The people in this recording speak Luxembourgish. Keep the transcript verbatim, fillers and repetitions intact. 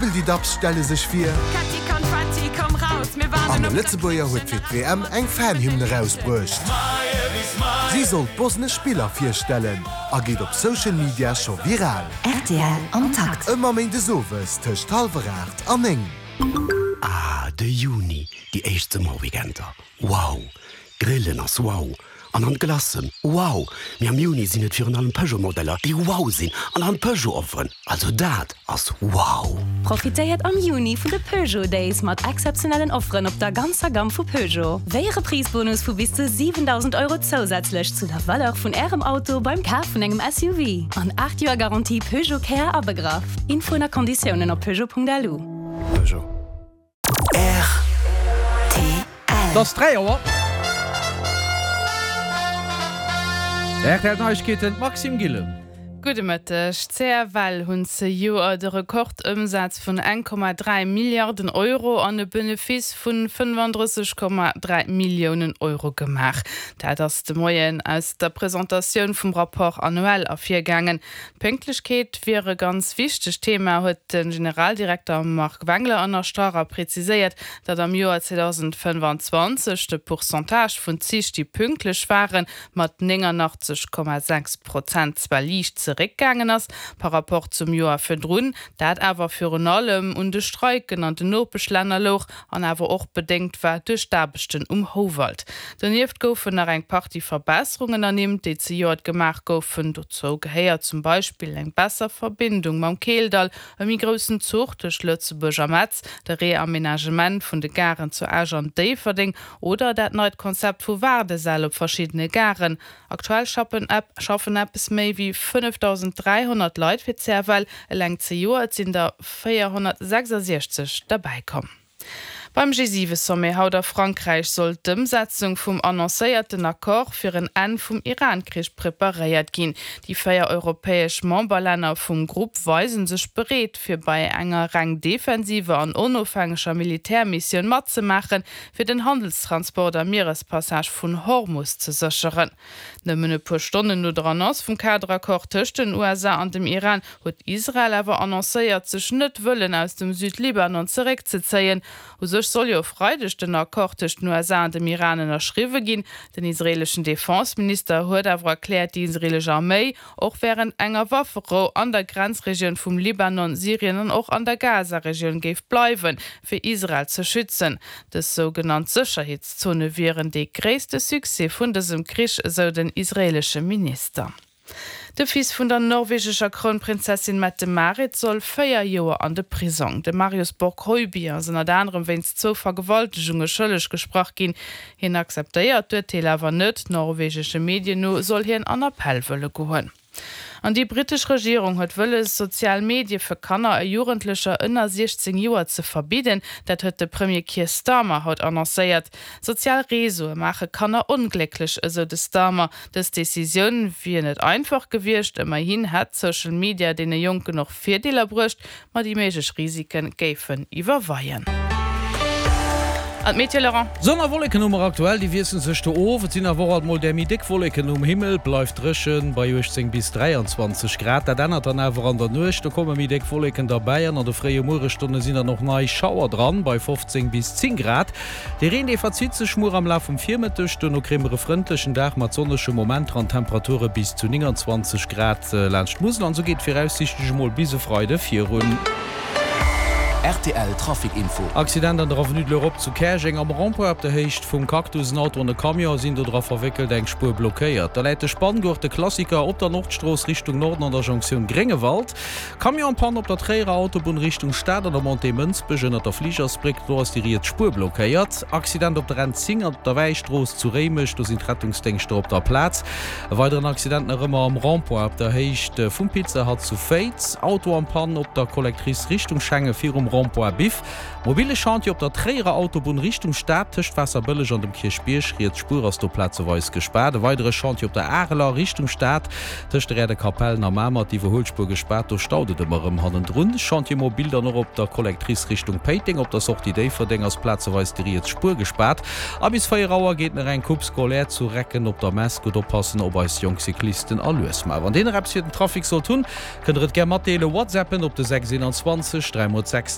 Déi Dubs stelle sech vir. An e Lëtzebuerger huet fir d'WM eng Fanhymne erausbruecht. Si soll d'bosnesch Spiller virstellen a geet op Social Media scho viral. Rtl am Takt. Ëmmer méindes owes tëscht hallwer aacht an néng. Ah, de Juni, déi éischt Summerweekender. Wow! Grillen ass wow! An an Glacen, wow! Mee am Juni sinn et virun allem Peugeot-Modeller, déi wow sinn an an Peugeot-Offeren. Also dat ass wow! Profitéiert am Juni vun de Peugeot Days mat exzeptionellen Offeren op der ganzer Gamm vu Peugeot. Wéi e Reprisebonus vu bis zu siwendausend Euro zousätzlech zu der Valeur vun Ärem Auto beim Kaf vun engem S U V. An aacht Joer Garantie Peugeot Care abegraff. Infoen a Konditiounen op peugeot Punkt L U. Peugeot. R T L. Et ass dräi Auer. R T L Neiegkeeten, Maxime Gillen. Gudde Mëtteg. C F L hunn zejoert de Rekordëmsaz vun eng Komma dräi Milliarden Euro an e Benefice vun fënnefandrësseg Komma dräi Milliounen Euro gemaach. Dat ass de Moien aus der Presentatioun vum Rapport annuel ervirgaangen. D'Pénktlechkeet wier e ganz wichtegt Thema, huet de Generaldirekter Marc Wengler ënnerstrach a preziséiert, datt am Joer zweedausendfënnefanzwanzeg de Pourcentage vun Zich, déi pünktlech waren, mat néngannachtzeg Komma sechs Prozent zwar liicht zeréckgaangen ass par rapport zum Joer virdrun, dat awer virun allem un de Streiken an den Nopeschlänner louch an awer och bedéngt war duerch d'Aarbechten um Houwald. Donieft goufen nach eng Partie Verbesserungen ernimmt, déi zejoert gemaach goufen. Dozou gehéiert zum Beispill eng besser Verbindung mam Keeldall, e méi groussen Zuch tëscht Lëtzebuerg a Metz, de Reamenagement vun de Garen zu Esch an Déifferdeng oder dat neit Konzept vu Waardesäll op verschiddene Garen. Aktuell schaffen schaffen eppes méi wéi fënnefdausend dräihonnert Leit fir d'C F L, eleng zejoert sinn der véierhonnertsechsasechzeg derbäikomm. Beim G siwe-Sommet haut a Frankräich soll d'Ëmsetzung vum annoncéierten Accord fir en Enn vum Iran-Krich preparéiert ginn. Déi véier europäesch Memberlänner vum Grupp weise sech bereet, fir bei enger reng defensiver an onofhängeger Militärmissioun matzemaachen, fir den Handelstransport am Mierespassage vun Hormus ze sécheren. Nëmmen e puer Stonnen no der Annonce vum Kaderaccord tëscht den U S A an dem Iran huet Israel awer annoncéiert, sech net wëllen aus dem Südlibanon zeréckzezéien. U sech soll jo e Freideg den Accord tëscht den U S A an dem Iran ënnerschriwwe ginn. Den israeleschen Defenseminister huet awer erkläert, déi israelesch Arméi och wärend enger Wafferou an der Grenzregioun vum Libanon, Syrien an och an der Gaza-Regioun géif bleiwen, fir Israel ze schützen. Dës sougenannt Sécherheetszone wieren de gréisste Succès vun dësem Krich, esou den israelesche Minister. De Fils vun der norwegescher Krounprinzessin Mette-Marit soll véier Joer an de Prisong. De Marius Borg Høiby ass ënnert anerem wéinst zwou Vergewaltegunge schëlleg gesprach ginn. Hien akzeptéiert d'Urteel awer net. Norwegesche Medien no soll hien an Appell wëlle goen. An déi brittesch Regierung huet wëlles, sozial Medie fir Kanner a Jugendlecher ënner siechzéng Joer ze verbidden. Dat huet de Premier Keir Starmer haut annoncéiert. Sozial Reseaue maache Kanner onglécklech, esou de Starmer. Dës Decisioun wier net einfach gewiescht, ëmmerhin hätt Social Media deene Jonken och Virdeeler bruecht, ma déi méiglech Risike géifen iwwerweien. An d'Meteo, Laurent. Sonn a Wolleken hu mer aktuell, déi wiessele sech do of. Et sinn awer och alt mol där méi déck Wolleken um Himmel. Bleift dréchen bei uechtzéng bis dräianzwanzeg Grad. Dat ännert dann awer an der Nuecht, do komme méi déck Wolleken derbäi an an de fréie Muerestonne sinn dann och nei Schauer dran bei fofzéng bis zéng Grad. De Reen dee verzitt sech muer am Laf vum Virmëtteg. Duerno kréie mer e frëndlechen Dag mat sonnege Momenter an Temperature bis zu nénganzwanzeg Grad laanscht d'Musel. An esou geet et viraussiichtlech emol bis e Freide virun. R T L Trafic Info. Accident an der Avenue de l'Europe zu Käerjeng am Rond-point op der Héicht vum Cactus. En Auto an e Camion sinn do dra verwéckelt, eng Spuer blockéiert. Da läit de Spanngurt, de Klassiker, op der Nordstrooss Richtung Norden an der Jonktioun Gréngewald. Camion en panne op der Tréierer Autobunn Richtung Stad an der Montée Mënsbech ënnert der Fligersbréck, do ass déi riets Spuer blockéiert. Accident op der N zéng an der Wäistrooss zu Réimech, do sinn d'Rettungsdéngschter op der Plaz. E weideren Accident nach ëmmer am Rond-point op der Héicht vum Pizza Hut zu Féiz. Auto en panne op der Collectrice Richtung Schengen virum Rond-point Biff. Mobile Chantier op der Tréierer Autobunn Richtung Stad tëscht Waasserbëlleg an dem Kierchbierg, riets Spuer ass do plazeweis gespaart. E weidere Chantier op der Areler Richtung Stad tëscht der Aire de Capellen a Mamer, d'Iwwerhuelspuer gespaart, do staut et ëmmer erëm hannendrun. Chantier mobile dann och op der Collectrice Richtung Péiteng, op der Sortie Déifferdeng ass plazeweis déi riets Spuer gespaart. A bis véier Auer geet nach eng Coupe scolaire zu Recken op der Mess. Gutt oppassen op eis jonk Cyclisten a lues maachen. Wann dir nach eppes fir den Trafic sollt hunn, kënnt der et gär matdeelen. Whatsappen op de sechs eenanzwanzeg dräi mol sechs.